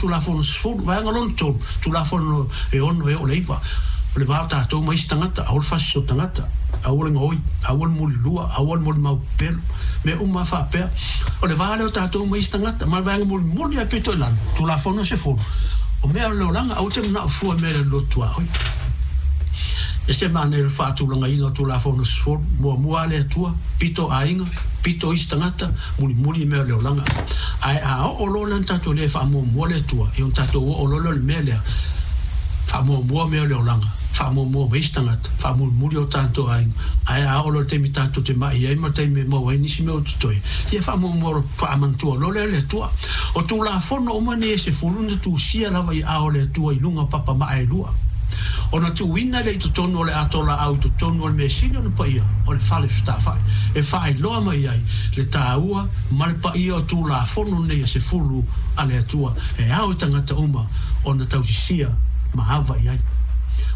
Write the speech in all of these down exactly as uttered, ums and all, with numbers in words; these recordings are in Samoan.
Tulafono sefulu. Vaega lona tolu, Tulafono e ono e oo i le iva, o le va o tatou ma isi tagata, aua le fasiso tagata, aua le gaoi, aua le mulilua, aua le molimau pepelo, mea uma lava faapea. O le va lea o tatou ma isi tagata. Ma le vaega mulimuli lava pito i lalo, Tulafono sefulu, o mea o le olaga, aua e te manao fua i mea e le lotu a oe. E se manaia o le faatulagaina o Tulafono sefulu, muamua lava le Atua, pito aiga, pito isi tagata, mulimuli i mea o le olaga. Ae a oo loa la ona tatou le faamuamua le Atua, ia ona tatou oo loa lea i le mea lea, faamuamua mea o le olaga, faamuamua ma isi tagata, faamulimuli o tatou aiga. Ae a oo loa i le taimi tatou te mai ai ma le taimi e maua ai nisi mea o totoe, ia faamuamua faamanatua loa lea le Atua. O Tulafono uma nei e sefulu na tusia lava i aao o le Atua i luga o papa maa e lua. Ona tuuina lea i totonu o le ato laau i totonu o le mea sili ona paia o le fale fetafai, e faailoa mai ai le taua ma le paia o Tulafono nei e sefulu a le Atua e ao i tagata uma ona tausisia ma ava i ai.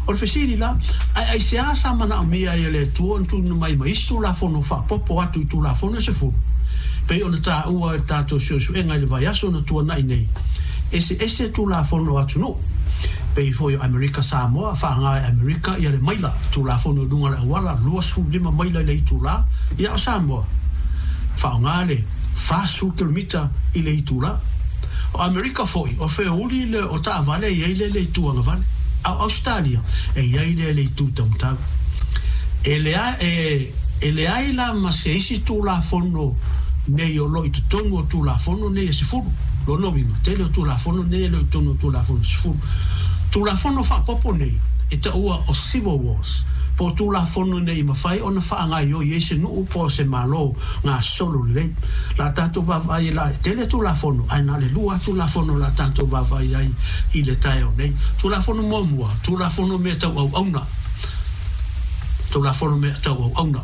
O le fesili la, ae aisea sa manaomia ai e le Atua ona tuuina mai ma isi Tulafono faaopoopo atu i Tulafono e sefulu? Pei ona taua e le tatou suesuega i le vaiaso na tuanai nei, eseese Tulafono o atunuu. Pei foi o Amerika Samoa, faaaoga e Amerika ia le maila, Tulafono i luga o le auala, luasefulu lima maila i le itulā, ia o Samoa, faaaoga le fasefulu kilomita i le itulā. O Amerika foi, o feouli le o taavale e i ai lea i le itu agavale, a o Ausetalia e i ai lea i le itu taumatau. E leai, e, e leai la ma se isi Tulafono nei o lo o i totonu o Tulafono nei e sefulu. Lona uiga, tele o Tulafono nei e le o i totonu o Tulafono sefulu. Tulafono faaopoopo nei e taua o Civil Wars, po o Tulafono nei i mafai ona faagaoioi ai se nuu po o se Malo gasolo lelei. O le a tatou vaavaai la, e tele Tulafono, ae na o le lua lava Tulafono o le a tatou vaavaai ai i le taeao nei. Tulafono muamua, Tulafono mea tau auauna. Tulafono mea tau auauna.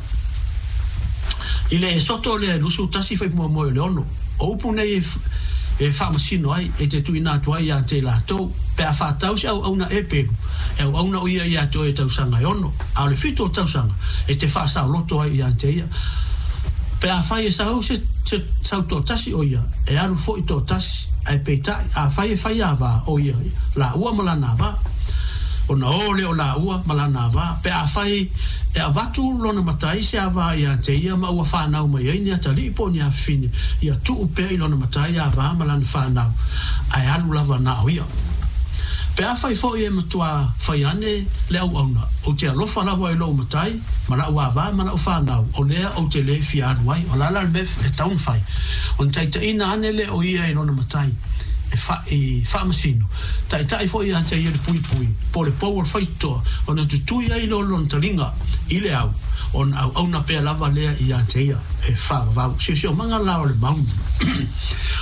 I le Esoto lea e lusu tasi fai muamua o le ono, o upu nei e faamasino ai, e te tuuina atu ai ia te latou, pe a faatau se auauna e pelu, e auauna o ia ia te oe i tausaga e ono, a o le fitu o tausaga, e te faasaoloto ai ia te ia. Pe afai e sau se se sau toatasi o ia, e alu foi toatasi, ae peitai, afai e fai ava o ia, laua ma lana ava, ona o lea o laua ma lana ava. Pe afai e avatu lona matai se ava ia te ia ma ua fanau mai ai ni atalii po o ni afafine, ia tuu pea i lona matai ava ma lana fanau, ae alu lava na o ia. Pe afai foi e matua fai ane le auauna, ou te alofa lava i lou matai, ma la'u ava ma la'u fanau, o lea ou te le fia alu ai. O le a la le mea e tatau ona fai? Ona taitaiina ane lea o ia i lona matai e fa, i faamasino. Taitai foi ia te ia le puipui, po o le pou o le faitotoa, ona tutui ai lea o lona taliga i le au, ona auauna pea lava lea ia te ia e faavavau. Siosiomaga la o le maunu.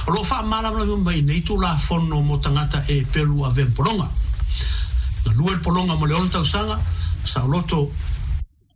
O lo o faamalamalama mai nei Tulafono mo tagata e pelu avea ma pologa. Galue le pologa mo le ono tausaga, saoloto